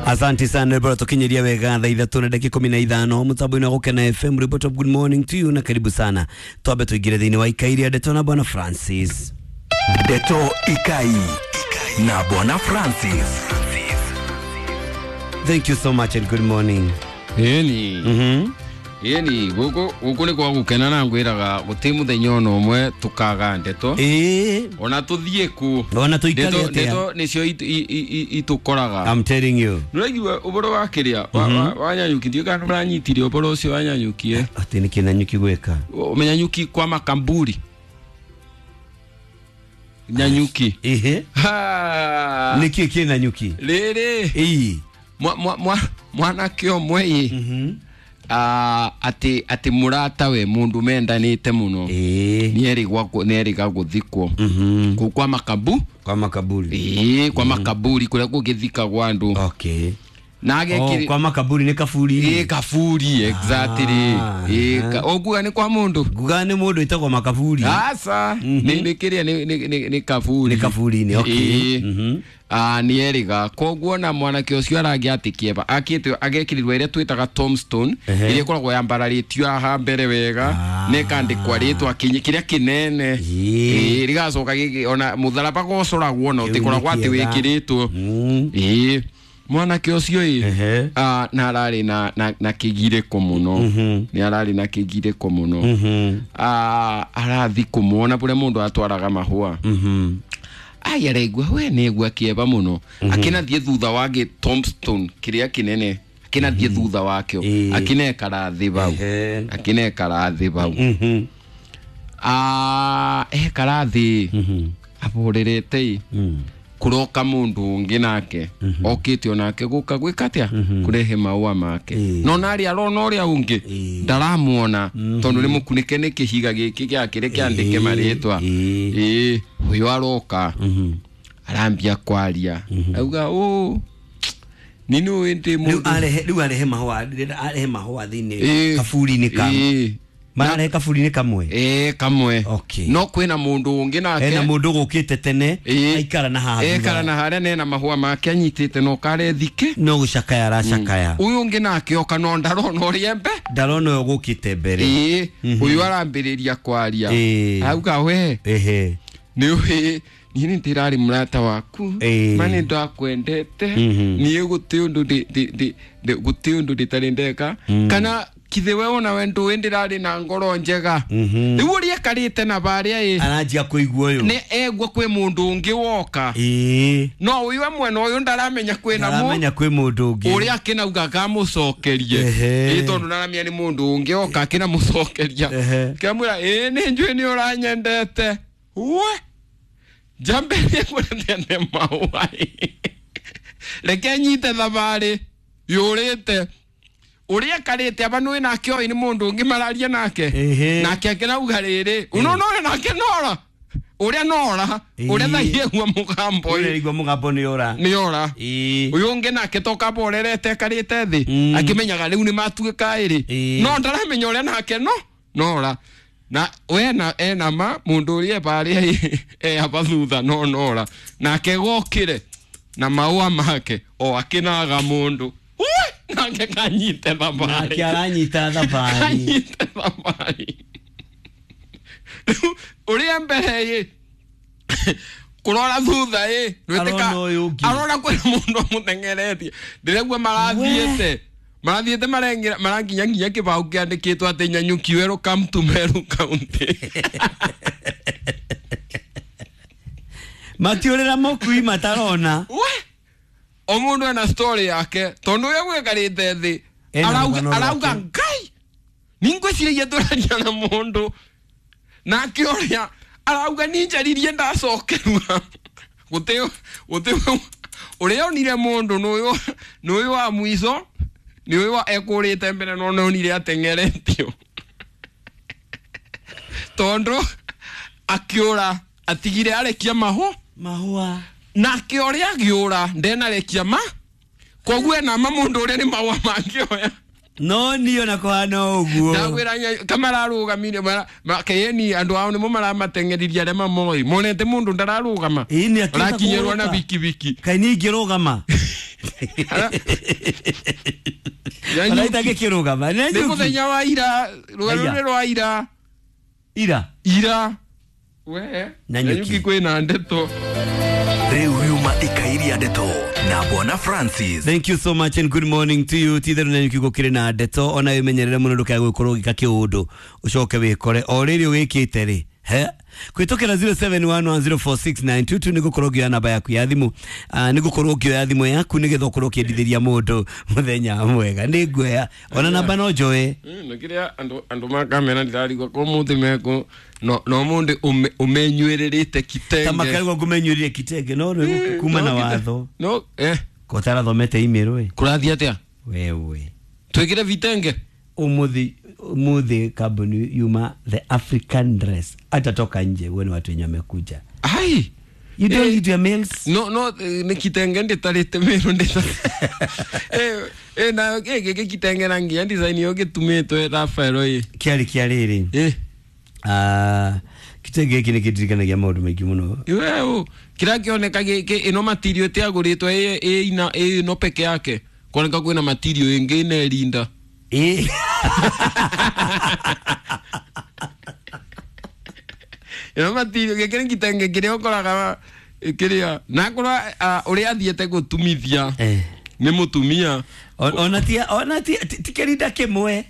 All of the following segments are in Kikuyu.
Asante sana bora tukinyeria wega thaa ithatũ na dakika 15 mutambo-inĩ wa Gũkena FM. Report of good morning to you na karibu sana. Twambe tuingire thĩinĩ wa ikairia ndeto na bwana Francis. Ndeto Ikai na Bwana Francis. Thank you so much and good morning. Ĩni. Ĩni gũkũ gũkũ nĩ kwa gũkena na ngwĩraga gũtĩ mũthenya ona ũmwe tũkaga ndeto. Ĩĩ. Ona tũthiĩ kũ. Ona tũikare Ndeto atĩa? ndeto nĩcio itũkoraga. I'm telling you. Nĩũraigua ũhoro wa kĩrĩa wa Nyanyuki, ndiũĩ kana nĩũranyitire ũhoro ũcio wa Nyanyuki ĩ. Atĩ nĩkĩ Nanyuki gwĩka? Nyanyuki kwa makamburi. Nyanyuki. Ĩhĩ. Ha. Nĩkĩ kĩ Nanyuki? Rĩrĩ. Ĩĩ. Mwanake ũmwe ĩ. Atĩ atĩ mũratawe mũndũ mendanĩte mũno. Ĩĩ. Nĩerĩga gũthikwo. Kũu kwa makabu. Kwa makaburi. Ĩĩ, kwa makaburi kũrĩa kũgĩthikagwo andũ. Okay. Na Oh, agekĩrĩ kwa makaburi nĩ kaburi. Ĩĩ, kaburi exactly. Ĩĩ, ũkuga nĩ kwa mũndũ? Nguga nĩ mũndũ wĩtagwo makaburi. Aca, nĩ kĩrĩa nĩ kaburi. Nĩ kaburi-inĩ, okay. Ĩĩ. Nĩerĩga. Koguo na mwanake ũcio arangĩ atĩ kĩeva akĩte agekĩrirwo ĩrĩa twĩtaga tombstone, ĩrĩa ĩkoragwo yambararĩtio haha mbere wega, na ĩkandĩkwa rĩtwa kĩrĩa kĩnene. Ĩĩ. Ĩĩ, rĩgacoka gĩkĩ ona mũtharaba gocoragwo na Kĩu nĩ ũtĩkoragwo atĩ kĩega. wĩkĩrĩtwo. Ĩĩ. Mwanake ũcio ĩ, na ararĩ na kĩgirĩko mũno. Nĩ ararĩ na kĩgirĩko mũno. Arathi kũmuona kũrĩa mũndũ atwaraga mahũa. Ai, araigua we nĩegua kĩeva mũno. Akĩnathiĩ thutha wa gĩ tombstone kĩrĩa kĩnene, akĩnathiĩ thutha wakĩo, akĩnekara thĩ bau. Akĩnekara thĩ bau. Ekara thĩ ahorerete ĩ, kũroka mũndũ ũngĩ nake okĩte onake gũka gwĩka atĩa, kũrehe maũa make. No narĩ arona ũrĩa ũngĩ ndaramuona tondũ nĩ mũkunĩke nĩ kĩhiga gĩkĩ gĩakĩrĩ kĩandĩke marĩtwa. Ĩĩ, ũyũ aroka arambia kwaria, auga ũ ni nĩ ndĩ Rĩu mũndũ. arehe, rĩu arehe mahũa, ndĩrenda arehe mahũa thĩinĩ kaburi-inĩ ka mararehe kaburi-inĩ kamwe. Ĩĩ, kamwe. Okay. No kwĩna mũndũ ũngĩ nake. Hena mũndũ gũkĩte tene Ĩĩ. aikara na haha ekara thutha. na harĩa nena mahũa make anyitĩte no karethike no gũcakaya aracakaya. Ũyũ ũngĩ nake oka no ndarona ũrĩa mbe ndarona ũyũ gũkĩte mbere. Ĩĩ, ũyũ arambĩrĩria kwaria, auga we nĩ ũĩ niĩ nĩ ndĩrarĩ mũrata waku, ma nĩ ndakwendete, niĩ gũtĩ ũndũ gũtĩ ũndũ ndĩtarĩ ndeka, kana kithe we ona we ndũĩ ndĩrarĩ na ngoro njega. Rĩu ũrĩa ekarĩte na barĩa ĩ, aranjia kũigua ũyũ nĩ egua kwĩ mũndũ ũngĩ woka. No ũyũ e mwena ũyũ ndaramenya kwĩna mũ ndaramenya kwĩ mũndũ ũngĩ ũrĩa akĩnauga akamũcokerie. Ĩĩ, tondũ ndaramenya nĩ mũndũ ũngĩ oka akĩnamũcokeria. Kĩamwĩra ĩĩ nĩ njũĩ nĩ ũranyendete we njambĩrĩrie kũrethete mahũa ĩ. Reke nyite thabarĩ yũrĩte ũrĩa ekarĩte aba nĩũĩ nake oĩ nĩ mũndũ ũngĩ mararia nake. Nake akĩrauga rĩrĩ ũnona ũrĩa nake nora ũrĩa nora ũrĩa thaigua mũgambo ũrĩa ĩ. igua mũgambo nĩ ora. Nĩ ora. Ũyũ ũngĩ nake toka borerete ekarĩte thĩ akĩmenyaga rĩu nĩ matuĩka ĩrĩ, no ndaramenya ũrĩa nake no nora na we ena ma mũndũ ũrĩa ebarĩa e aba thutha no nora nake gokĩre na maũa make o akĩnaga mũndũ. Ui! Nake kanyite thabarĩ. Nake aranyita thabarĩ. Kanyite thabarĩ. Rĩu ũrĩa mbere ĩ kũrora thutha ĩ nĩwĩtĩka Arona ũyũ ũngĩ. arona kwĩna mũndũ amũteng'eretie ndĩraigua marathiĩte marathiĩte marengera maranginya nginya kĩbaũ kĩandĩkĩtwo atĩ Nyanyuki welcome to Meru County. Matiũrĩra mũkui matarona. We o mũndũ ena story yake tondũ ũrĩa gwĩkarĩte thĩ Ena arauga rũgano arauga rwake. Ngai ningwĩciragia tũraria na mũndũ nake ũrĩa arauga ninjaririe ndacokerwa gũtĩ gũtĩ ũrĩa onire mũndũ nĩ ũyũ wa mũico nĩ ũyũ wa ekũrĩte mbere no nĩonire ateng'eretio tondũ akĩũra atigire arekia mahũ mahũa nake ũrĩa agĩũra ndenarekia ma koguo ena ma mũndũ ũrĩa nĩ mahũa mangĩoya. No niĩ ona kũhana ũguo ndagwĩra kamararũgamire kĩni andũ ao nĩmo maramateng'eririe arĩa mamoi monete mũndũ ndararũgama Ĩĩ, nĩ akĩenda arakinyĩrwo na kũgũrũka. bikibiki Kaĩ niĩ ingĩrũgama Ona itangĩkĩrũgama. Nĩ Nanyuki. mũthenya wa ira, rũgano Aya. rũrĩ rwa ira. Ira. Ira. We. Nanyuki. Nanyuki kwĩna ndeto. Rĩu riuma ikairia ndeto na Bwana Francis. Thank you so much and good morning to you. Titherũ Nanyuki gũkĩrĩ na ndeto ona wĩmenyerere mũno ndũkae gũkorwo ũgĩka kĩũndũ ũcoke wĩkore o rĩrĩ ũgĩkĩte rĩ he kwĩtũkĩra 0711046922 nĩ gũkorwo ngĩoya namba yaku ya thimũ. Nĩ gũkorwo ngĩoya thimũ yaku nĩgetha ũkorwo ũkĩendithĩria mũndũ mũthenya mwega. Nĩ nguoya ona namba no njoe. Na kĩrĩa andũ makamera ndirarigwo ko mũthĩ mekũ no mũndũ ũmenyuĩrĩrĩte kitenge. Ta makarigwo ngũmenyuĩrĩre kitenge no rĩu kuma na watho No ko ũtarathomete email ĩ. Kũrathiĩ atĩa? Wewe. Twĩkĩre vitenge. Umuthi kambuni yuma the African dress atatoka nje uone watu wenye wamekuja. Ai. You don't read your mails. No nĩ kitenge ndĩtarĩte mĩrũ ndĩta na gĩkĩ kitenge na nginya design ĩyo gĩtumĩtwe Rafael ĩ. Kĩarĩ kĩa rĩrĩ. Kitenge gĩkĩ nĩ kĩndirikanagia maũndũ maingĩ mũno. Iwe kĩrĩa kĩoneka gĩkĩ ĩno material ĩtĩagũrĩtwo ĩ ĩno peke yake kuoneka kwĩna material ĩngĩ ĩna ĩrinda. Ĩno material gĩkĩ nĩ kitenge kĩrĩa ũkoraga kĩrĩa na korwo ũrĩa athiĩte gũtumithia nĩ mũtumia. Ona ti ona ti ti kĩrinda kĩmwe.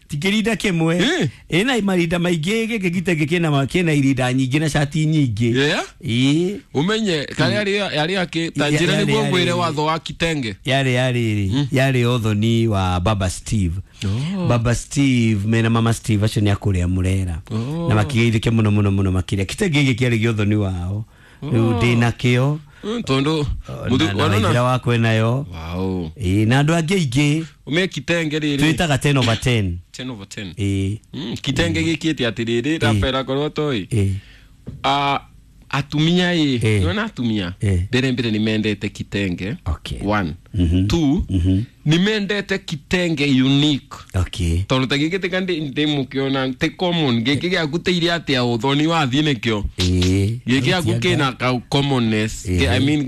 Ti kĩrinda kĩmwe. Ĩna marinda maingĩ gĩkĩ gĩtenge kĩna kĩna irinda nyingĩ na cati nyingĩ. Yeah. Umenye karĩa yarĩ akĩ ta njĩra nĩguo ngwĩre watho wa kitenge. Yarĩ yarĩ ũthoni wa Baba Steve. Baba Steve mena Mama Steve acio nĩ akũrĩa Murera. Na makĩgeithĩke mũno mũno mũno makĩria. Kitenge gĩkĩ kĩarĩ gĩa ũthoni wao. Rĩu ndĩ nakĩo. Tondu mũthuri wakwa nayo. Wow. Na andũ angĩ aingĩ. Ume kitenge rĩrĩ. Twĩtaga 10 over 10. 10 over 10. Kitenge gĩkĩte atĩrĩrĩ Rafael akorwo toĩ. Atumia ĩ nĩwona atumia mbere mbere nĩ mendete kitenge. Okay. 1 2 nĩ mendete kitenge unique. Okay. Tondũ ta gĩkĩ tika ndĩ mũkĩona ti common gĩkĩ gĩaku tĩire atĩa ũthoni wathiĩ nĩkĩo. Gĩkĩ gĩaku kĩna ka commonness. I mean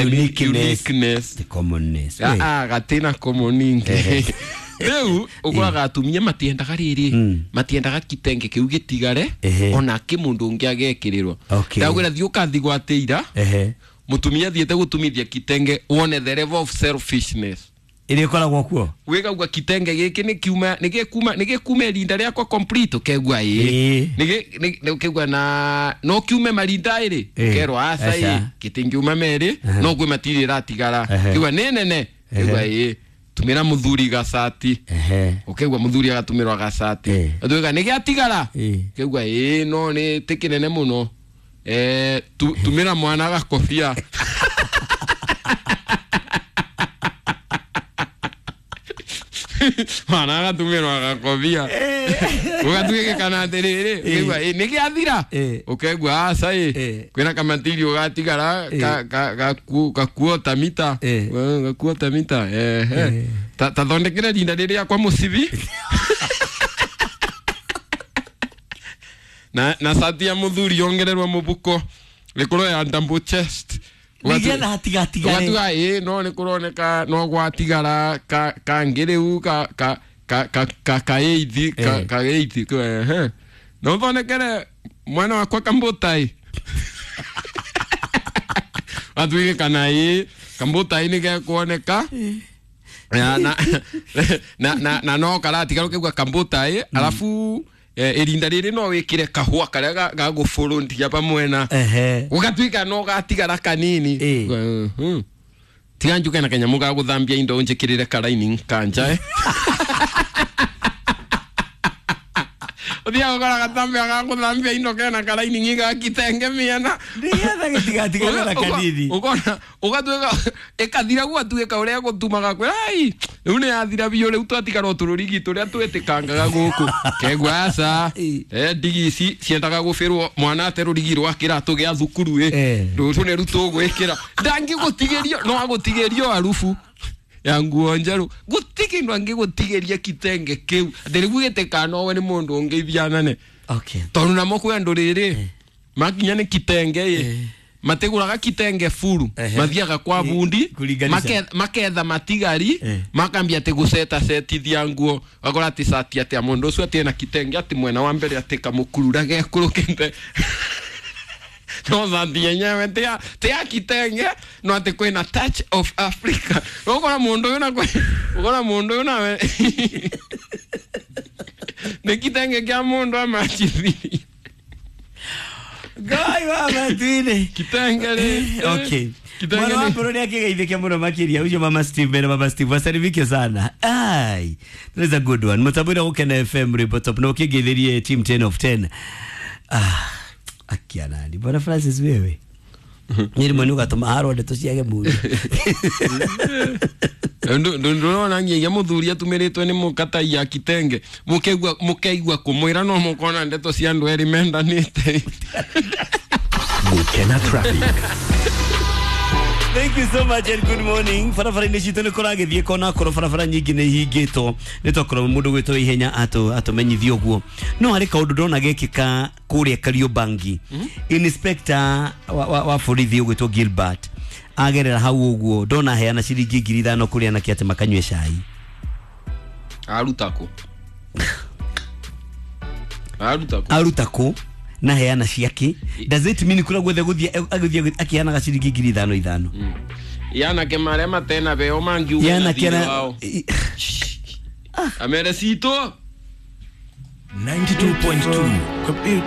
uniqueness. The commonness. Gatĩna common ingĩ. Rĩu ũkoraga atumia matiendaga rĩrĩ matiendaga kitenge kĩu gĩtigare ona kĩ mũndũ ũngĩ agekĩrĩrwo. Ndagwĩra thiĩ ũkathi gwatĩira mũtumia athiĩte gũtumithia kitenge wone the level of selfishness ĩrĩa ĩkoragwo kuo. Wĩkaigua kitenge gĩkĩ nĩ kiuma nĩ gĩkuuma irinda rĩakwa complete ũkegua ĩ nĩ ũkegua na no kiume marinda ĩrĩ ũkerwo aca ĩ gĩtingiuma merĩ no kwĩ matiri ĩratigara kĩgua nĩ nene kĩgua ĩ tumira muthuri gacati ukegua muthuri agatumirwa gacati atuiga nĩ gĩatigara kegua ĩ no nĩ ti kĩnene mũno tumira mwana gakobia. Mwana agatumirwa gakobia ũgatuĩke kana atĩrĩrĩ ũkegua ĩ nĩ gĩathira ũkegua aca ĩ kwĩna kamatiri ũgatigara gakuota mita gakuota mita tathondekere rinda rĩrĩa kwa mũcibi na cati ya mũthuri yongererwo mũbuko rĩkorwo ya double chest nĩgetha hatigatigare ũgatuga ĩ no nĩ kũroneka no gwatigara kangĩ rĩu ka eithi ka eithi no thondekere mwana wakwa kambutai atuige kana ĩ kambutai nĩ gekuoneka na no karatigara ũkaigua kambutai alafu irinda rĩrĩ no wĩkĩre kahũa karĩa gagũbũrũndia pamwena ũgatuĩka no gatigara kanini. Tiga njuke na kanyamũ ga gũthambia indo njĩkĩrĩre karaini kanja ũthiaga ũkora gatambia ga gũthambia indo kena karaini ga kitenge mĩena nĩgetha gĩtigatigare na kanini ũkona ũgatuĩka ĩkathira gwatuĩka ũrĩa gũtumaga kwĩra ai rĩu nĩ yathira biũ rĩu twatigara o tũrũrigi tũrĩa twĩtĩkangaga gũkũ kegua aca ndigi ici ciendaga gũbĩrwo mwana ate rũrigi rwa kĩratũ gĩa thukuru ĩ rũrũ nĩru tũgwĩkĩra ndangĩgũtigĩrio no agũtigĩrio arubu ya nguo njerũ gũtirĩ kĩndũ angĩgũtigĩria kitenge kĩu atĩ rĩu gĩtĩkana nowe nĩ mũndũ ũngĩ ithianane Okay. tondũ namo kwĩ andũ rĩrĩ makinya nĩ kitenge ĩ Matiguraga kitenge furu. Mathiaga kwa bundi. Kulinganisha. Maketha matigari. Makambia ati guceta setithia nguo, wakora ati cati atia mundu ucio ati ena kitenge ati mwena wa mbere ati kamukurura gekurukite, no cati yenyewe ti ya kitenge, no ati kwina touch of Africa. Ukora mundu uyu na ukora mundu uyu nawe ni kitenge kia mundu amachithiri. Ngai wa matuine. Kitenge ri. Okay. Kitenge. Mwana wa Mburu nĩakĩgeithĩke mũno makĩria ũcio mama Steve na mama Steve wasalimike sana. Ai, that is a good one. Mũtambo Gũkena FM rwĩmbo top na ũkĩngeithĩrie team 10 of 10. Ah, akia nani bwana Francis wewe nĩ rĩmwe nĩ ũgatũma harwo ndeto ciage mũndũ. Ndũrona nginya mũthuri atumirĩtwe nĩ mũkatai ya kitenge, mũkeigua mũkeigua kũmwĩra no mũkona ndeto cia andũ erĩ mendanĩte. Gukena Traffic. Thank you so much and good morning. Barabara-inĩ citũ nĩ kũragĩthiĩ kona korwo barabara nyingĩ nĩ ihingĩtwo nĩ tokorwo mũndũ gwĩtwo ihenya atũmenyithie ũguo, no harĩ kaũndũ ndona gekĩka kũrĩa Kariobangi. Inspector wa borithi ũgwĩtwo Gilbert agerera hau ũguo ndona heana ciringi 5,000 kũrĩ anake atĩ makanyue cai. Aruta kũ? Aruta kũ? Aruta kũ na heana ciake? Does it mean kũrĩa guothe gũthiĩ agũthiĩ akĩheanaga ciringi 5,000 ithano? Yanake marĩa matena beo mangiuga na Yanake thirĩ wao amere citũ. 92.2.